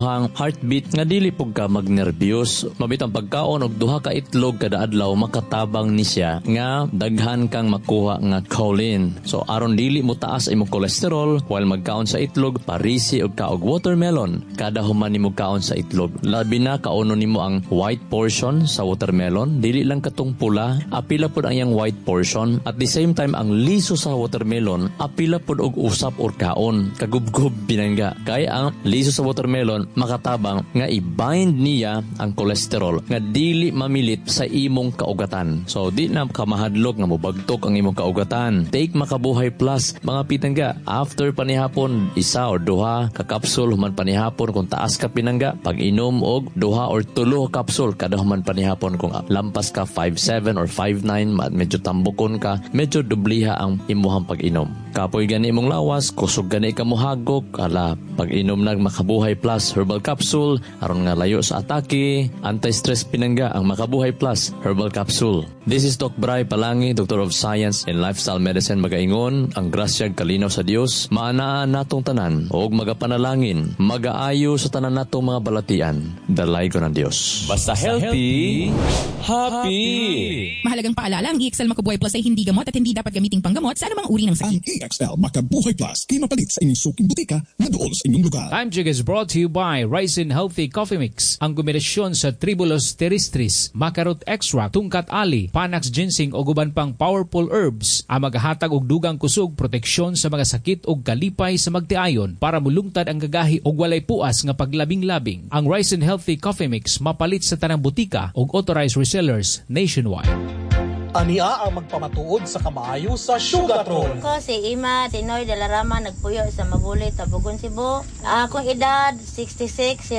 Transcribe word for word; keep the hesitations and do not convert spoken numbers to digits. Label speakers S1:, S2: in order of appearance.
S1: Ang heartbeat nga dili pug ka magnerbiyos. Mabitang pagkaon og duha ka itlog kada adlaw, makatabang ni siya nga daghan kang makuha nga choline. So aron dili mo taas imong cholesterol while magkaon sa itlog, parisi og kaog watermelon kada human nimo kaon sa itlog. Labi na kaonon nimo ang white portion sa watermelon, dili lang katong pula, apila pud ang iyang white portion. At the same time, ang liso sa watermelon apila pud og usap or kaon. Kagubgob pinangga. Kay ang liso sa watermelon makatabang nga i-bind niya ang cholesterol nga dili mamilit sa imong kaugatan. So di na ka mahadlok nga mobagtok ang imong kaugatan. Take Makabuhay Plus, mga pitangga, after panihapon, isa or duha ka kapsul human panihapon. Kung taas ka, pinangga, pag-inom og duha or tulo ka kapsul kada human panihapon. Kung lampas ka five seven or five nine, medyo tambukon ka, medyo dubliha ang imuhang pag-inom. Kapoy gani imong lawas, kusog gani ka mohagok, ala, pag-inom nag Makabuhay Plus Herbal Capsule aron nga layo sa atake, anti-stress, pinangga, ang Makabuhay Plus Herbal Capsule. This is Doc Bray Palangi, Doctor of Science in Lifestyle Medicine, magaingon, ang grasyag kalinaw sa Dios maanaa natong tanan ug magapanalangin, magaayo sa tanan natong mga balatian. Dalaygon ang Dios. Basta healthy, happy.
S2: Mahalagang paalala, ang E X L Makabuhay Plus ay hindi gamot at hindi dapat gamiting panggamot sa anumang uri ng sakit.
S3: Ang E X L Makabuhay Plus kay mapalit sa inyong suking butika na duol sa inyong lugar.
S4: Time Check is brought to you by Raisin Healthy Coffee Mix. Ang kombinasyon sa Tribulus terrestris, Maca root extract, Tongkat Ali, Panax ginseng o uban pang powerful herbs ang magahatag og dugang kusog, proteksyon sa mga sakit ug kalipay sa magtiayon para mulungtad ang gagahi og walay puas nga paglabing-labing. Ang Raisin Healthy Coffee Mix mapalit sa tanang butika ug authorized resellers nationwide.
S5: Ania ang magpamatuod sa kamaayo sa Sugatrol.
S6: Ko si Ima Tinoy de la Rama, nagpuyo sa Mabuli, Tabogon, Cebu. Akong edad sixty-six.